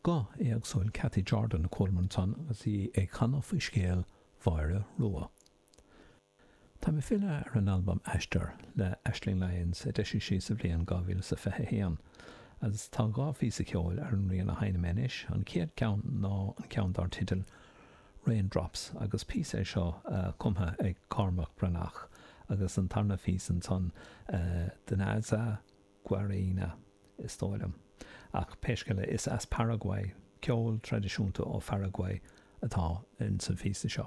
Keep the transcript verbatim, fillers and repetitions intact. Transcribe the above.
Guth éagsúil Cathy Jordan a chualamar ansan agus í ag canadh faoi scéal Mháire Rua. Tá mé ag filleadh ar an albam Aistear le Aisling Lyons a d'eisigh sí sa bhliain dhá mhíle is a fiche a haon agus tá dhá phíosa ceoil ar an rian a sheinnim anois, an chéad cheann ná an ceann dar teideal Raindrops agus píosa é seo cumtha ag Cormac Breathnach agus an tarna phíosa ansan Danza Guarina is dóigh liom. Ach pé scéal é, is as Paraguay, ceol traidisiúnta ó Pharaguay atá ins an phíosa seo.